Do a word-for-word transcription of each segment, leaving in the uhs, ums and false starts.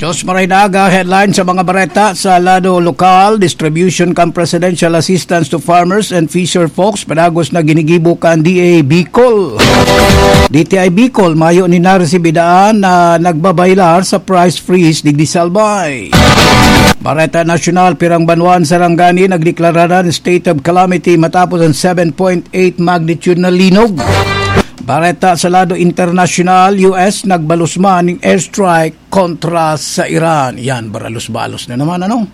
Sa Maray na Aga, headline sa mga bareta sa lado lokal: distribution kan presidential assistance to farmers and fisher folks padagos na ginigibo kan D A Bicol. D T I Bicol, mayo ni naresibi daan na nagbabaylar sa price freeze digdi sa Albay. Bareta nasyonal: pirang banwaan sa Sarangani nagdeklara na state of calamity matapos ang seven point eight magnitude na linog. Bareta sa lado internasyonal: U S nagbalos man ning airstrike kontra sa Iran. Yan, baralos-balos na naman, ano?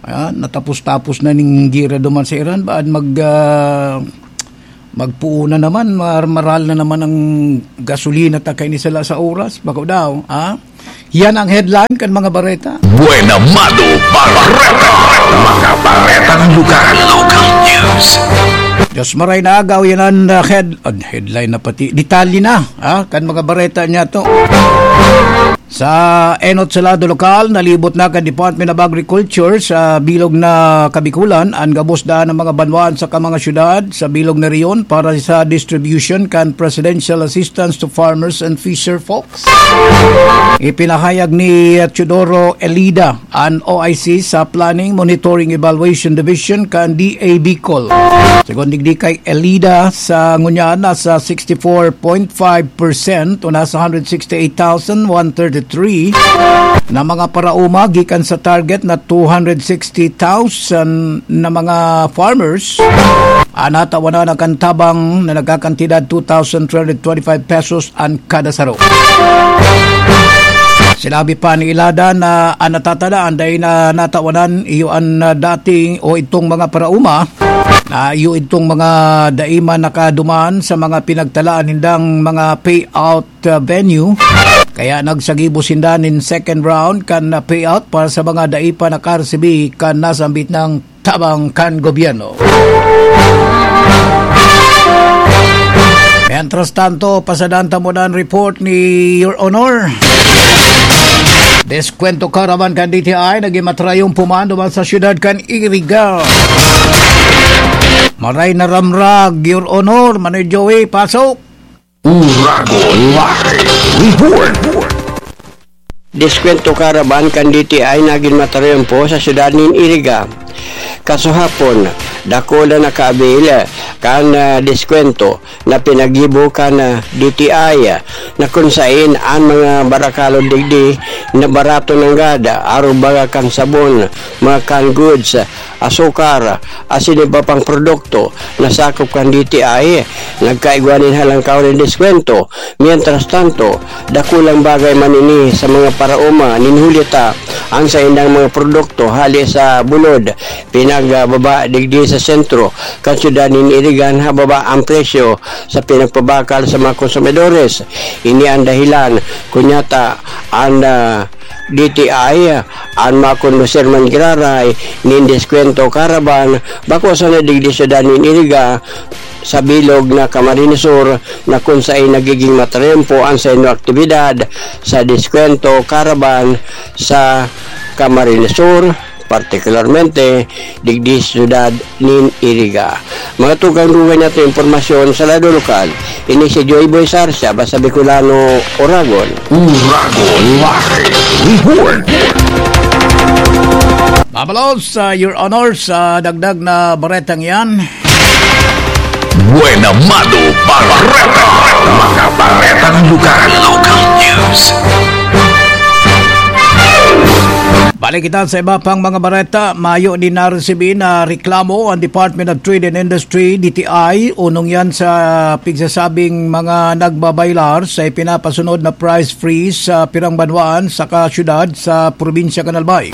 Ah, natapos-tapos na ning gera duman sa Iran. Baad mag, ah, magpuo na naman, mar-, maral na naman ang gasolina ta kaini sala sa oras. Bako daw, ha? Yan ang headline kan mga bareta. Buena Mano Bareta. Mga baretang lugar. Local news. Diyos maray na agaw, yan ang, ah, head-, ah, headline na pati. Detalye na, ha? Kan mga bareta niya to. Sa enot sa lado lokal, nalibot na kan Department of Agriculture sa bilog na Kabikulan an gabos daan ng mga banwaan sa mga syudad sa bilog na reyon para sa distribution kan presidential assistance to farmers and fisher folks. Ipinahayag ni Teodoro Elida, an O I C sa Planning Monitoring Evaluation Division kan D A Bicol. Segun digdi kay Elida, sa ngunyan, nasa sixty-four point five percent o nasa hundred sixty-eight thousand one thirty-three na mga paraoma gikan sa target na two hundred sixty thousand na mga farmers an natawanan kan tabang na nagkakantidad two thousand three hundred twenty-five pesos an kada saro. Sinabi pa ni Elida na an natatadaan dai na natawanan iyo an, ah, dating o itong mga paraoma na iyo itong mga dai man nakaduman sa mga pinagtalaan nindang mga payout, ah, venue. Kaya nagsagibo sinda nin second round kan, ah, payout para sa mga dai pa nakaresibi kan nasambit na tabang kan gobyerno. Mientras tanto, pasadan ta muna an report ni Your Honor. Deskwento caravan kan D T I nagin matrayumpo man duman sa siyudad kan Iriga. Maray na ramrag, Your Honor, Manoy Joey, pasok. Uragon Live Report. Deskwento caravan kan D T I nagin matrayumpo sa siyudad nin Iriga. Kasuhapon, dakul an nakaabil kan, ah, deskwento na pinaggibo kan, ah, D T I, na kun saen an mga barakalon digdi na barato nanggad, arog baga kan sabon, mga canned goods, asukar, asin iba pang produkto na sakop kan D T I, nagkaigwa nin halangkaw nin deskwento. Mientras tanto, dakulang bagay man ini sa mga paraoma nin huli ta an saindang mga produkto hale sa bulod, pinagbaba digdi sa sentro kan syudad nin Iriga hababa ang presyo sa pinagpabakal sa mga konsumidores. Ini ang dahilan kunyata an, ah, D T I, an makondusir man giraray nin deskwento caravan bako sana digdi syudad nin Iriga, sa bilog na Camarines Sur, na kun saen nagiging matrempo an saindong aktibidad sa deskwento caravan sa Camarines Sur, partikularmente digdi sa syudad nin Iriga. Mga tugang-dugang nato impormasyon sa lado lokal, ini si Joy Boy Sarsia, basta Bicolano, Oragon. Uragon Live Report. Mabalos, ah, Your Honor, sa dagdag na baretang yan. Buena Mano Bareta. Mga baretang lugar. Local news. Balik kita sa iba pang mga bareta. Mayo din naresibi na reklamo ang Department of Trade and Industry, D T I, unong yan sa pigsasabing mga nagbabaylar sa ipinapasunod na price freeze sa pirang banwaan saka syudad sa probinsya kan Albay.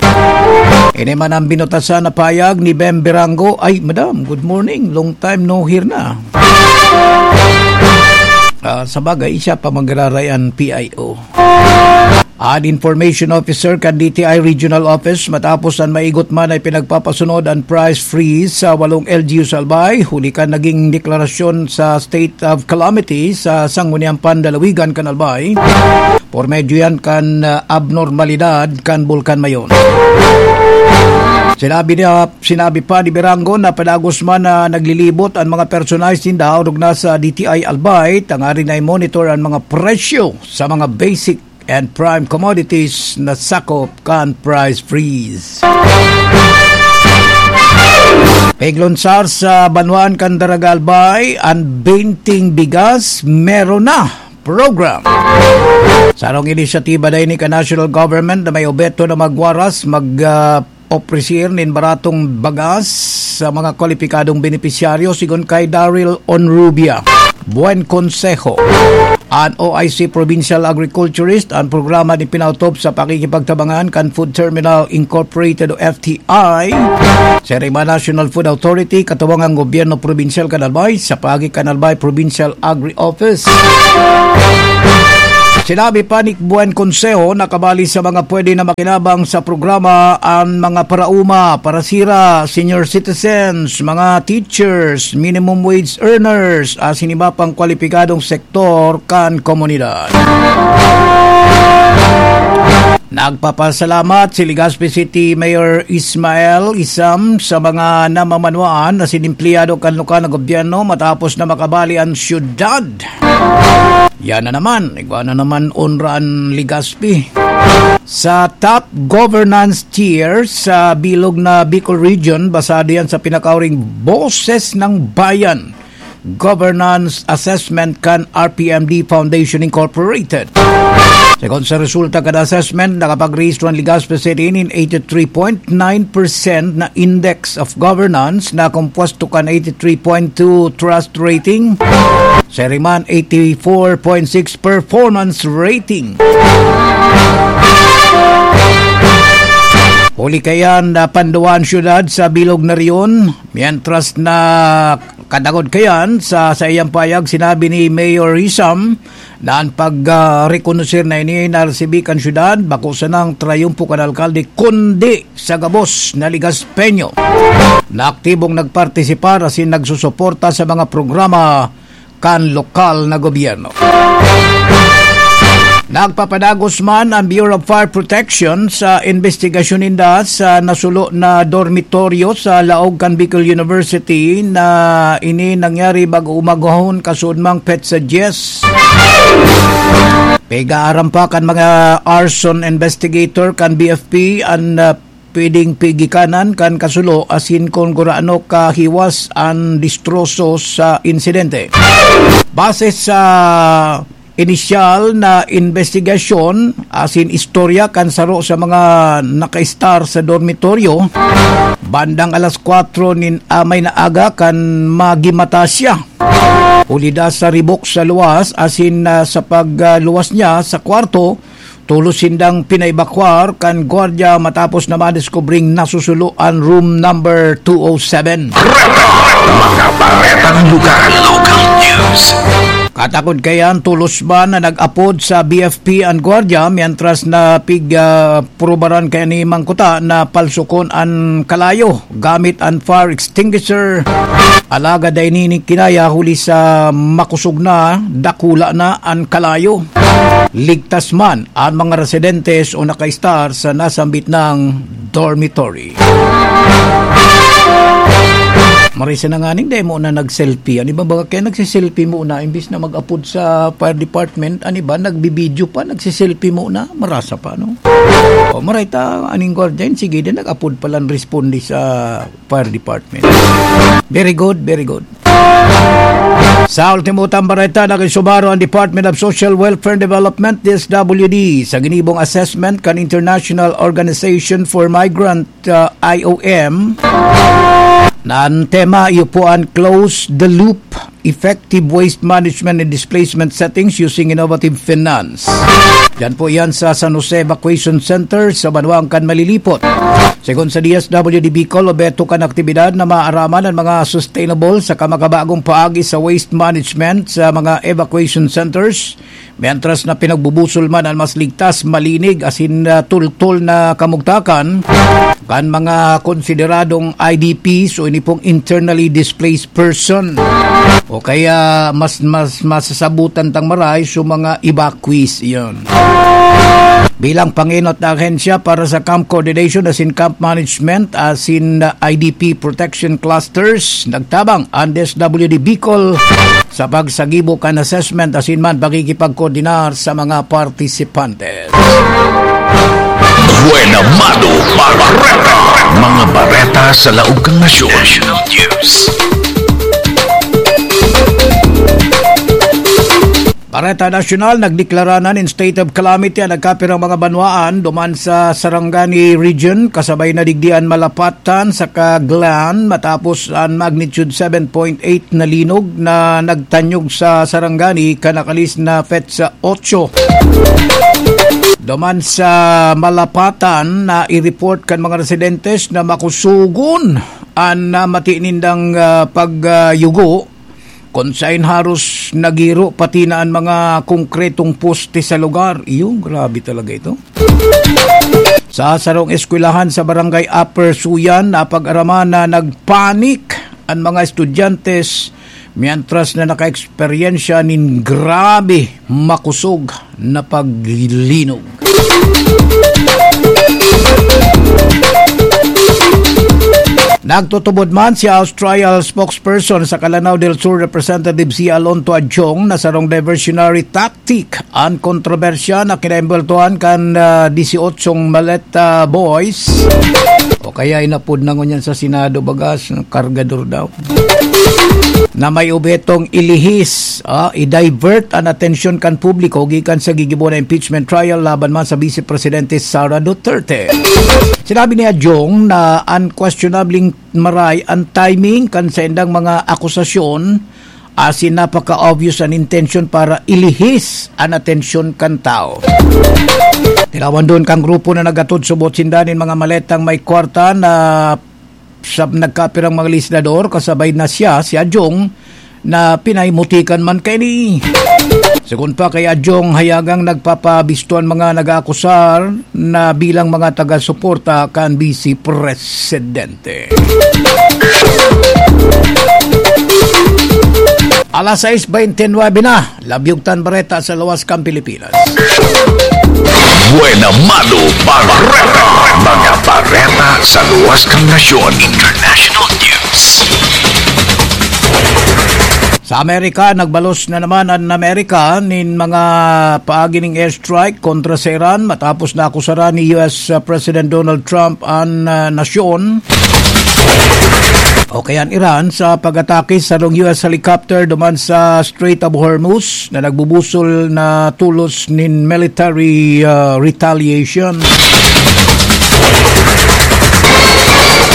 Ini man ang binutasan na payag ni Bem Birango. Ay, madam, good morning. Long time no hear na. Ah, sa bagay, siya pa magraray ang P I O. An information officer kan D T I Regional Office, matapos an maigot man ay pinagpapasunod an price freeze sa walong L G U sa Albay, huli kan naging deklarasyon sa state of calamity sa Sangguniang Pandalawigan kan Albay, por medyo yan kan, ah, abnormalidad kan Bulkan Mayon. Sinabi niya, sinabi pa ni Birango na padagos man na naglilibot an mga personahe sinda orog na sa D T I Albay, tanganing na i-monitor an mga presyo sa mga basic and prime commodities na sakop kan price freeze. Piglunsar sa banwaan kan Daragalbay, an Binting Bigas meron na program. Sarong inisyatiba dai ni ka national government na may obheto na magwaras, mag, ah, opresir nin baratong bagas sa mga kwalipikadong benepisyaryo, sigon kay Daryl Onrubia. Buen Consejo. An O I C Provincial Agriculturist, an programa ni pinautob sa pakikipagtabangan kan Food Terminal Incorporated o F T I. Sa Rima National Food Authority, katuwang ang gobyerno probinsyal kan Albay sa paagi kan Albay Provincial Agri-Office. Sinabi pa ni Buen Consejo na kabali sa mga pwede na makinabang sa programa an mga paraoma, parasira, senior citizens, mga teachers, minimum wage earners, asin iba pang kwalipikadong sektor kan komunidad. Nagpapasalamat si Legazpi City Mayor Ismael Isam sa mga namamanwaan na sinimpliyado kan lokal na gobyerno matapos na makabali an syudad. Yan na naman, igwa na naman onra an Legazpi. Sa top governance tier sa bilog na Bicol Region, basado yan sa pinakauring Boses ng Bayan Governance Assessment kan R P M D Foundation Incorporated. Segun sa resulta kan assessment, nakapagrehistro an Legazpi City nin eighty-three point nine percent na index of governance na kompuesto kan eighty-three point two trust rating, sa iri man eighty-four point six performance rating. Huli kaiyan, napanduwa an syudad sa bilog na riyon, mientras na katagod kaiyan, sa saiyang pahayag, sinabi ni Mayor Isam na an pag, ah, rekonosir na ini naresibi kan syudad bako sanang trayumpo kan alkalde, kundi sa gabos na Legaspeño na aktibong nagpartisipar asin nagsusuporta sa mga programa kan lokal na gobyerno. Nagpapadagos man ang Bureau of Fire Protection sa investigasyon ninda sa nasulo na dormitoryo sa laog kan Bicol University na ini nangyari bago umagahon, kasuodmang petsa dyes. Pigaaram pa kan mga arson investigator kan B F P an, ah, pwedeng pigikanan kan kasulo asin kun gurano kahiwas an distroso sa insidente. Base sa inisyal na investigasyon asin istorya kan saro sa mga nakaistar sa dormitoryo, bandang alas kwatro nin amay na aga kan magimata siya. Huli da sa ribok sa luwas asin, ah, sa pagluwas niya sa kwarto, tolos sindang pinaebakwar kan gwardiya matapos na madeskubring nasusulo an room number two oh seven. Mga baretang lugar. Local news. Katakod kaiyan, tolos man na nag-apod sa B F P an gwardiya, mientras na pig, ah, prubaran kaya ni Mangkuta na palsukon an kalayo gamit an fire extinguisher. Alagad dai nini kinaya huli sa makosog na, dakula na an kalayo. Ligtas man an mga residentes o nakaistar sa nasambit nang dormitory. Marisa na nganing dai mo na nag-selfie. Ano ba, baga kaya nagsiselfie mo na imbis na mag-apod sa fire department? Ano ba, nagbibideo pa, nagsiselfie mo na? Marasa pa, no? O, maray ta, aning guardian, sige din, nag-apod palan responde sa fire department. Very good, very good. Sa ultimo tang bareta, nag-isubaro ang Department of Social Welfare and Development, D S W D, sa ginibong assessment kan International Organization for Migrant, uh, I O M, na ang tema, iyo po ang Close the Loop, Effective Waste Management and Displacement Settings Using Innovative Finance. Diyan po yan sa San Jose Evacuation Center sa banwaan kan Malilipot. Segun sa D S W D Bicol, obheto kan aktibidad na maaraman ang mga sustainable saka makabagong paagi sa waste management sa mga evacuation centers, mientras na pinagbubusol man ang mas ligtas, malinig, asin, ah, tultol na kamugtakan kan mga konsideradong I D Ps o ini pong internally displaced person, o kaya mas, mas masasabutan tang maray sa mga evacuees. Iyon. Bilang pangenot na ahensya para sa camp coordination asin camp management asin I D P protection clusters, nagtabang ang D S W D Bicol sa pagsagibo kan assessment asin man pakikipagkoordinar sa mga partisipantes. Buena Mano Bareta. Mga bareta sa laog kan nasyon. National News. Bareta Nasyonal, nagdeklara na nin state of calamity an nagkapirang mga banwaan duman sa Sarangani Region, kasabay na digdi an Malapatan saka Glan, matapos an magnitude seven point eight na linog na nagtanyog sa Sarangani kan nakalis na petsa otso. Duman sa Malapatan, na i-report kan mga residentes na makusugon an namati nindang, ah, pagyugo, kun saen haros nagiro pati na an mga konkretong poste sa lugar. Iyo, grabe talaga ito. Sa sarong eskwelahan sa Barangay Upper Suyan, napag-araman na nagpanik an mga estudyante, mientras na naka-eksperyensya nin grabe makusog na paglinog. Nagtutubod man si House Trial Spokesperson sa Lanao del Sur Representative si Alonto Adjong na sarong diversionary tactic an kontrobersya na kinaembweltohan kan, ah, dieciochong Maleta Boys, o kaya inapod na ngunyan sa Senado bagas, kargador daw, na may obhetong ilihis, ah, i-divert an atensyon kan publiko gikan sa gigibo na impeachment trial laban man sa Vice Presidente Sara Duterte. Sinabi ni Adjong na unquestionabling maray an timing kan saindang mga akusasyon, asin napaka-obvious an intensyon para ilihis an atensyon kan tawo. Tinawan duon kan grupo na naghatod subot sinda nin mga maletang may kwarta na sa nagkapirang mga legislador, kasabay na siya, si Adjong, na pinaimutikan man kaini. Segun pa kay Adjong, hayagang nagpapabisto an mga nag-aakusar na bilang mga taga-suporta kan Vice Presidente. Alas sais bente nuebe na, labyog tan bareta sa luwas kan Pilipinas. Buena Mano Bareta. Mga bareta sa luwas kan nasyon. International News. Sa Amerika, nagbalos na naman an Amerika nin mga paagi ning airstrike kontra sa Iran matapos na akusaran ni U S President Donald Trump an, ah, nasyon o kaya an Iran sa pag-atake sa sarong U S helicopter duman sa Strait of Hormuz na nagbubusol na tolos nin military, ah, retaliation.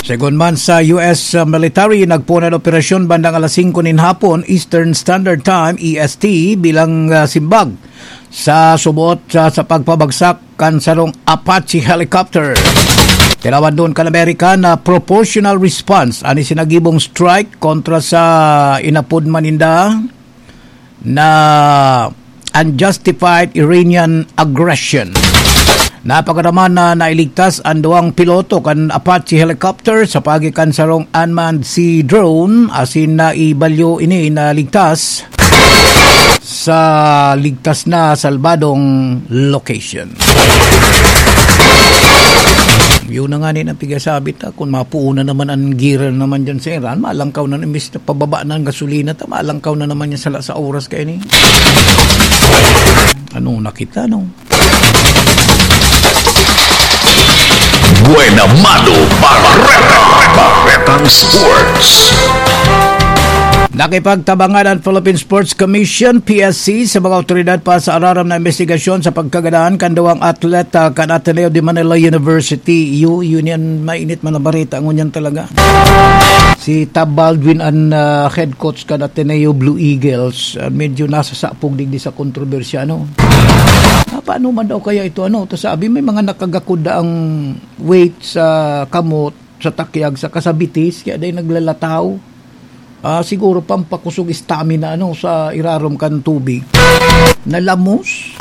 Segun man sa U S military, nagpoon an operasyon bandang alas singko nin hapon, Eastern Standard Time, E S T, bilang, ah, simbag sa subot sa, sa pagpabagsak kan sarong Apache helicopter. Tinawan duon kan Amerika na proportional response an isinagibong strike kontra sa inapod man ninda na unjustified Iranian aggression. Napag-araman na nailigtas an duwang piloto kan Apache helicopter sa paagi kan sarong unmanned sea drone, asin naibalyo ini na ligtas sa ligtas na salbadong location. Yun na nga ni ang pigasabit, ah, kung mapuo na naman ang gira naman dyan sa Iran, malangkaw na, imbis na pababa na ang gasolina, ta, malangkaw na naman yan sa, sa oras kayo ni. Ano na kita, no? Buena Mano Bareta. Baretang Sports. Nakipagtabangan ang Philippine Sports Commission, P S C, sa mga awtoridad pa sa araram na imbestigasyon sa pagkagadan kan duwang atleta kan Ateneo de Manila University. Yu-, yun yan, mainit man na bareta, ngunyan talaga. Si Tab Baldwin ang, ah, head coach kan Ateneo Blue Eagles. Ah, medyo nasa sapog digdi sa kontrobersya, ano? Ah, paano man daw kaya ito, ano? Ta sabi, may mga nakagakod na ang weight sa kamot, sa takyag, sa kasabitis, kaya dahil naglalataw. Ah, siguro pampakusog stamina, ano, sa irarom kan tubig. Nalamos.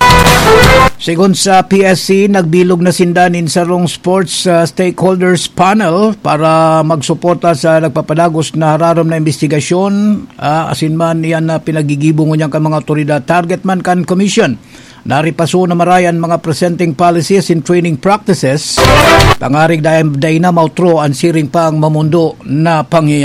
Segun sa P S C, nagbilog na sinda nin sarong sports, ah, stakeholders panel para magsuporta sa nagpapadagos na hararom na imbestigasyon, ah, asin man iyan na pinagigibo ngunyan kan mga awtoridad. Target man kan commission Naripaso na maray an mga presenting policies and training practices. Pangarig dai, dai na mautro an siring pang mamondo na pangyayari.